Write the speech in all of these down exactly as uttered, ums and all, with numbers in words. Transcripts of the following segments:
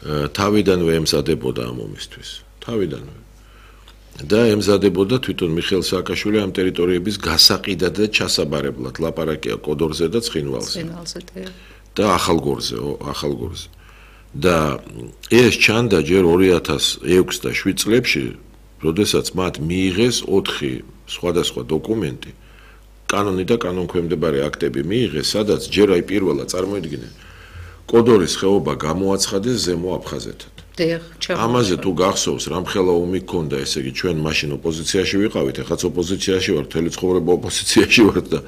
თავიდანვე ემზადებოდა ამ ომისთვის. თავიდანვე. და ემზადებოდა თვითონ მიხეილ სააკაშვილი ამ ტერიტორიების გასაყიდად და ჩასაბარებლად ლაპარაკია კოდორზე და ცხინვალზე. ცხინვალზე და ახალგორზე, ახალგორზე. და ეს ჩანდა ჯერ ორი ათას ექვსი და შვიდ წლებში, როდესაც მათ მიიღეს ოთხი სხვადასხვა დოკუმენტი, კანონი და კანონქვემდებარე აქტები მიიღეს, სადაც ჯერ აი პირველად წარმოიდგინე კოდორის ხეობა გამოაცხადეს ზემო აფხაზეთად. ამაზე თუ გახსოვს, რამხელა ომი გქონდა, ესე იგი ჩვენ მაშინ ოპოზიციაში ვიყავით, ეხაც ოპოზიციაში ვარ, მთელი ცხოვრება ოპოზიციაში ვარ და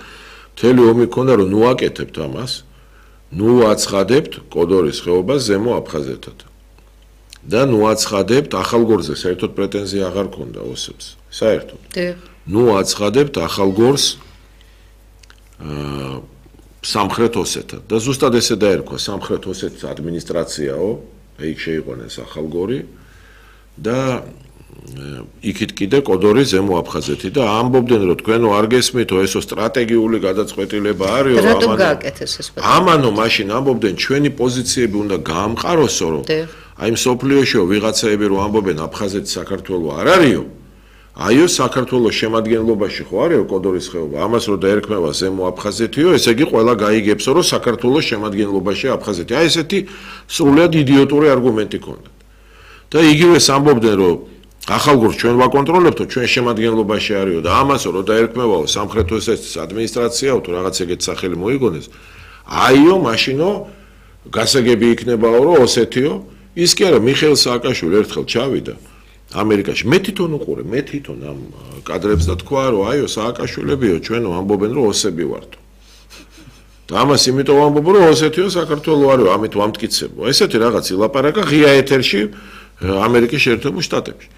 მთელი ომი გქონდა, რომ ნუ აკეთებთ ამას, ნუ აცხადებთ კოდორის ხეობას ზემო აფხაზეთად. და ნუ აცხადებთ ახალგორზე, საერთოდ პრეტენზია აღარ ქონდა ოსებს, საერთოდ. ნუ აცხადებთ ახალგორს აა სამხრეთ ოსეთად. და ზუსტად ესე დაერქვა სამხრეთ ოსეთის ადმინისტრაციაო, იქ შეიყვანეს ახალგორი და იქით კიდე კოდორი ზემო აფხაზეთი და ამბობდნენ რომ თქვენო არ გესმითო ესო სტრატეგიული გადაწყვეტილება არისო რატომ გააკეთეს ეს პატარა ამანო მაშინ ამბობდნენ ჩვენი პოზიციები უნდა გაამყაროსო რომ აი მსოფლიოშიო ვიღაცაები რომ ამბობენ აფხაზეთი საქართველო არ არისო აიო საქართველოს შემადგენლობაში ხო არისო კოდორის ხეობა ამას რომ დაერქმევა ზემო აფხაზეთიო ესე იგი ყველა გაიგებსო რომ საქართველოს შემადგენლობაში აფხაზეთი აი ესეთი სრულად იდიოტური არგუმენტი ქონდა და იგივეს ამბობდნენ რომ ახალგორს ჩვენ ვაკონტროლებთო ჩვენ შემადგენლობაში არისო და ამასო რომ დაერქმევაო სამხრეთ ოსეთის ადმინისტრაციაო თუ რაღაც ეგეთ სახელი მოიგონეს აიო მაშინო გასაგები იქნებაო რომ ოსეთიო ის კი არა მიხეილ სააკაშვილი ერთხელ ჩავიდა ამერიკაში მე თვითონ უყურე მე თვითონ ამ კადრებს და თქვა რომ აიო სააკაშვილებიო ჩვენო ამბობენ რომ ოსები ვართ და ამას იმიტომ ამბობ რომ ოსეთიო საქართველო არისო ამით ვამტკიცებო ესეთი რაღაც ილაპარაკა ღია ეთერში ამერიკის შეერთებულ შტატებში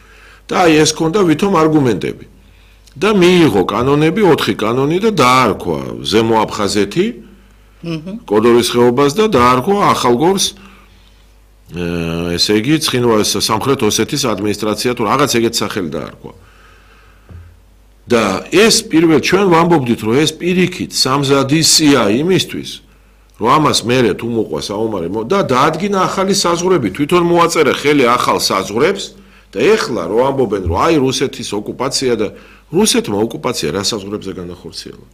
და აი ეს ქონდა ვითომ არგუმენტები და მიიღო კანონები ოთხი კანონი და დაარქვა ზემო აფხაზეთი კოდორის ხეობას და დაარქვა ახალგორს ესე იგი ცხინვალის სამხრეთ ოსეთის ადმინისტრაცია თუ რაღაც ეგეთ სახელი დაარქვა და ეს პირველ ჩვენ ვამბობდით რომ ეს პირიქით სამზადისია იმისთვის რომ ამას მერე თუ მოყვა საომარი და დაადგინა ახალი საზღვრები თვითონ მოაწერა ხელი ახალ საზღვრებს და ეხლა რომ ამბობენ რომ აი რუსეთის ოკუპაცია და რუსეთმა ოკუპაცია რა საზღვრებზე განახორციელა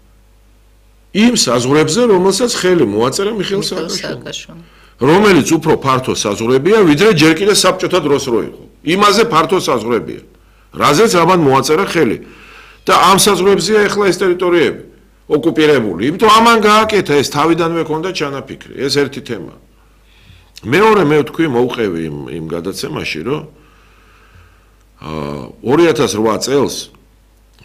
იმ საზღვრებზე რომელსაც ხელი მოაწერა მიხეილ სააკაშვილმა რომელიც უფრო ფართო საზღვრებია ვიდრე ჯერ კიდე საბჭოთა დროს რო იყო იმაზე ფართო საზღვრებია რაზეც ამან მოაწერა ხელი და ამ საზღვრებზეა ეხლა ეს ტერიტორიები ოკუპირებული იმიტომ ამან გააკეთა ეს თავიდანვე ქონდა ჩანაფიქრი ეს ერთი თემა მეორე მე ვთქვი მოვყევი იმ იმ გადაცემაში რომ ორი ათას რვა წელს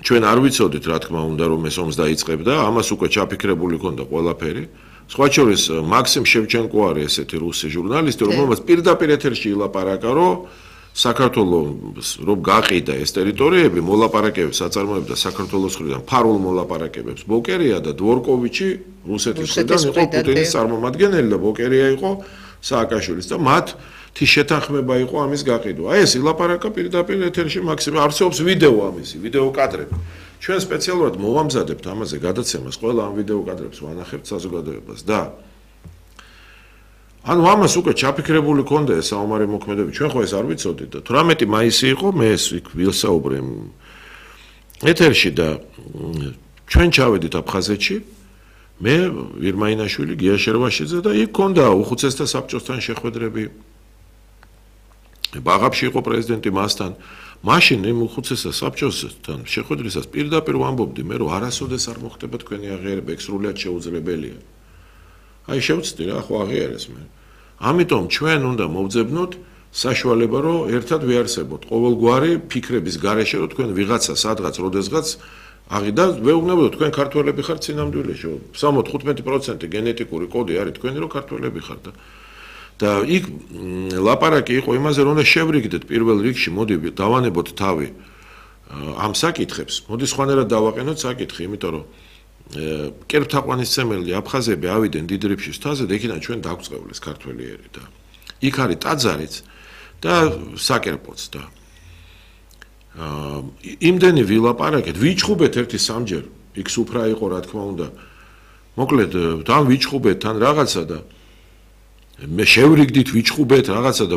ჩვენ არ ვიცოდით რა თქმა უნდა რომ ეს ომს დაიწყებდა ამას უკვე ჩაფიქრებული ქონდა ყველაფერი სხვა შორის მაქსიმ შევჩენკო არის ესეთი რუსი ჟურნალისტი რომელმაც პირდაპირ ეთერში ილაპარაკა რომ საქართველოს რომ გაყიდა ეს ტერიტორიები მოლაპარაკებებს აწარმოებდა საქართველოს მხრიდან ფარულ მოლაპარაკებებს ბოკერია და დვორკოვიჩი რუსეთის მხრიდან იყო პუტინის წარმომადგენელი და ბოკერია იყო სააკაშვილის და მათ თი შეთანხმება იყო ამის გაყიდვა აი ეს ილაპარაკა პირდაპირ ეთერში მაქსიმ არსებობს ვიდეო ამისი ვიდეო კადრები ჩვენ სპეციალურად მოვამზადებთ ამაზე გადაცემას ყველა ამ ვიდეო კადრებს ვანახებთ საზოგადოებას და ანუ ამას უკვე ჩაფიქრებული ქონდა ეს საომარი მოქმედებები ჩვენ ხო ეს არ ვიცოდით და თვრამეტი მაისი იყო მე ეს ვილსაუბრე ეთერში და ჩვენ ჩავედით აფხაზეთში მე ვირმაინაშვილი გია შერვაშიძე და იქ ქონდა უხუცესთა საბჭოსთან შეხვედრები ბაღაფში იყო პრეზიდენტი მასთან მაშინ იმ უხუცესთა საბჭოსთან შეხვედრისას პირდაპირ ვამბობდი მე რომ არასოდეს არ მოხდება თქვენი აღიარება ეგ სრულად შეუძლებელია აი შევწდი რა ხო აღიარეს მე ამიტომ ჩვენ უნდა მოვძებნოთ საშუალება რომ ერთად ვიარსებოთ ყოველგვარი ფიქრების გარეშე რომ თქვენ ვიღაცა სადღაც როდესღაც აღიდა ვეუბნებოდოთ თქვენ ქართველები ხართ სინამდვილეში სამოცდა თხუთმეტი პროცენტი გენეტიკური კოდი არის თქვენი რომ ქართველები ხართ და და იქ ლაპარაკი იყო იმაზე რომ უნდა შევრიგდეთ პირველ რიგში მოდი დავანებოთ თავი ამ საკითხებს მოდი სხვანაირად დავაყენოთ საკითხი იმიტომ რომ კერპთაყვანისმცემელი აფხაზები ავიდნენ დიდ რიფშის თაზე და იქიდან ჩვენ დაგვწყევლეს ქართველიერი და იქ არის ტაძარიც და საკერპოც და იმდენი ვილაპარაკეთ ვიჩხუბეთ ერთი სამჯერ იქ სუფრა იყო რა თქმა უნდა მოკლედ თან ვიჩხუბეთ თან რაღაცა და მე შევრიგდით ვიჩხუბეთ რაღაცა და